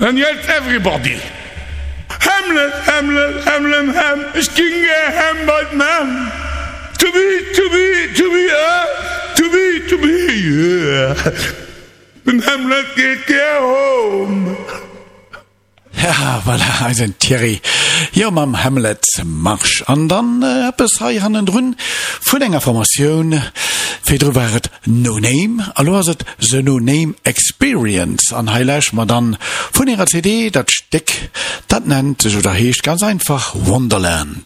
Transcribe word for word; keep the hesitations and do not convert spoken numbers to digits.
And yet everybody. Hamlet, Hamlet, Hamlet, Ham, ich ging gehämmert, man. To be, to be, to be, uh, to be, to be, yeah. Den Hamlet geht gär home. Ja, voilà, eisen Thierry. Jo, mam Hamlet Marsch. An dann äh, eppes hei hannendrun vun enger Formatioun. Virdru war et No Name, a lo ass et The No Name Experience. An hei lauschteren mer dann vun hirer C D dat Stéck, dat nennt sech oder heescht ganz einfach Wonderland.